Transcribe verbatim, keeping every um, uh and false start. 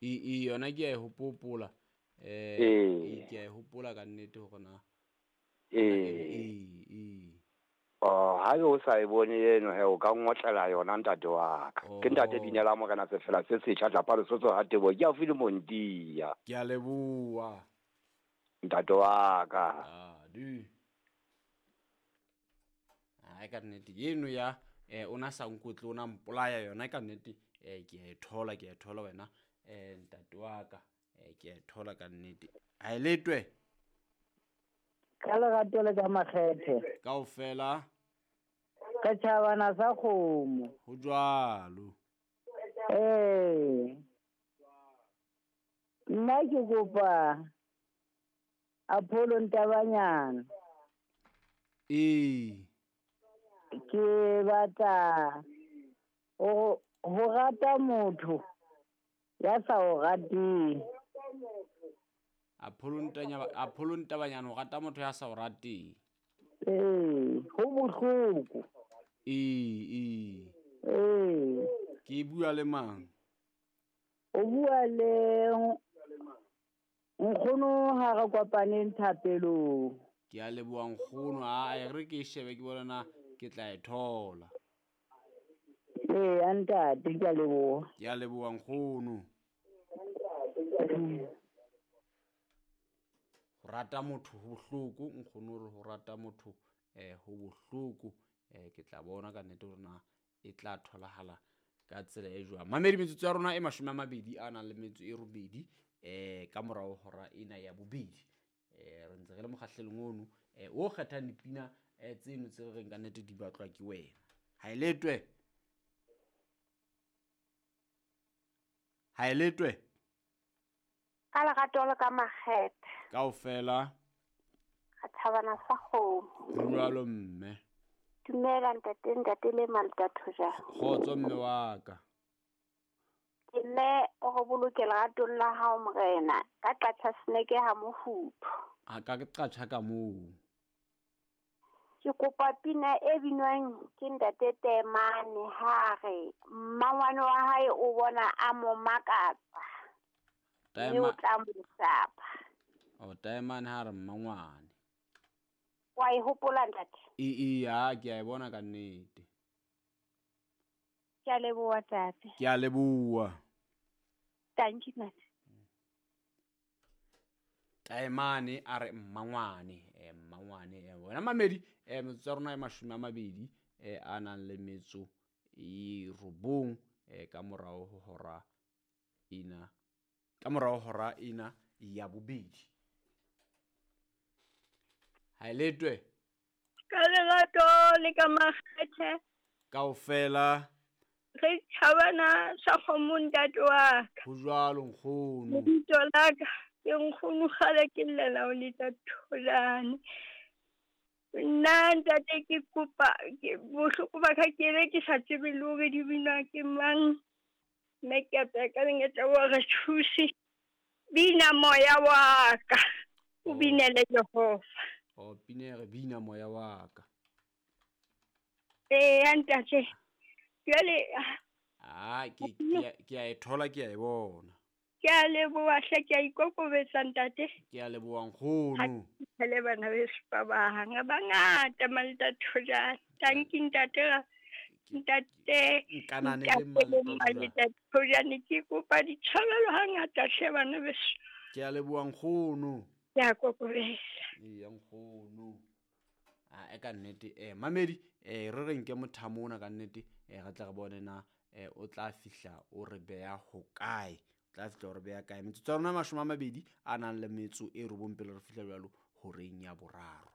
E e yona ke a e hopola. Eh Ee. ke a e hopola ka nnete hore na. Ee. Ee ee. Oh, ha o sa e bone eno he o ka ngotlela yona ntate wa ka. Ke ntate Oh. Binela Morena Sefela se setjha tlapa Lesotho ha Tebo ke haufi le Montia. Ke a leboha. Ntate wa ka. Ah, di. Ai ka nnete eno ya eh ona sa nkotle ona mpolaya yona ka nnete eh ke a e thola ke a e thola wena eh ntate wa ka eh ke a e thola ka nnete. Ha e letwe Ka lerato le ka makgethe. Kaofela Ka tjhabana sa kgomo. Ho jwalo. Ee. Nna ke kopa Apollo Ntabanyana. Ee. Ke batla ho ho rata motho ya sa o rateng. Apollo Ntanya Apollo Ntabanyana o rata motho ya sa o rateng. Ee, ho bohloko. Ee, ee. Ee. Ke bua le mang? O bua le nkgono ha re kopaneng thapelong. Ke a leboha nkgono, a e re ke shebe ke bona na ke tla e thola. Ee, ntate, ke a leboha. Ke a leboha nkgono. Ho rata motho ho bohloko, nkgono re ho rata motho eh ho bohloko, eh ke tla bona ka nnete hore na e tla tholahala ka tsela e jwang. Mamedi metsotso ya rona e mashome a mabedi a nang le metso e robedi eh ka morao hora ena ya bobedi. Eh re ntse re le mokgahlelong ono eh o kgethang dipina eh tseno tse re reng ka nnete di batlwa ke wena. Ha e letwe. Ha e letwe. Ka lerato le ka makgethe. Kaofela. Ka thabana sa kgomo. Ho jwalo mme. Dumela ntate, ntate le Maltatho ja. Kgotso mme wa ka. Ke mme o re boloke leratong la hao morena, ka qatjha seneke ha mofuthu. A ka ke qatjha ka moo. Ke kopa pina e binwang ke ntate Temane ha re mmangwane wa hae o bona a mo makatsa. Taema Mme o tla mo sapa. O Taemane ha re mmangwane. Wa e hopola ntate? E e ha ke a e bona ka nnete. Ke a leboha ntate. Ke a leboha. Thank you ntate. Taemane a re mmangwane, eh mmangwane eh wena mamedi eh metsotso ya rona e mashome a mabedi eh a nang le metso e robong eh ka morao ho hora ena ka morao hora ena ya bobedi. Ha e letwe. Ka lerato le ka makgethe. Kaofela. Re tjhabana sa kgomo ntate wa ka. Ho jwalo nkgono. Lebitso la ka ke nkgono kgale ke llela ho letsa tholane. Nna ntate ke kopa ke bohloko ba ka ke be ke sa tsebe le hore di binwa ke mang. Mme ke a tsaya lenyatsa wa re thuse. Bina moya wa ka. O binele Jehova. O pina re bina moya wa ka. Ee ntate. Jwale ah ke ke ke a e thola ke a e bona. Ke a leboha hle, ke a ikokobetsa ntate. Ke a leboha nkgono. Ha le bana beso ba bang ba ngata Maltatho ja. Thank you ntate. Ntate Nkanane le Maltatho ja ne ke kopa ditshwarelo hangata hle bana beso. Ke a leboha nkgono. Ke a kokobetsa. Ee nkgono. Ah e ka nnete eh mamedi eh re re nke mothamo ona ka nnete eh re tla re bone na eh o tla fihla o re beya ho kae. Tla fihla o re beya kae. Metsotso ya rona mashome a mabedi a nang le metso e robong pele re fihla jwalo horeng ya boraro.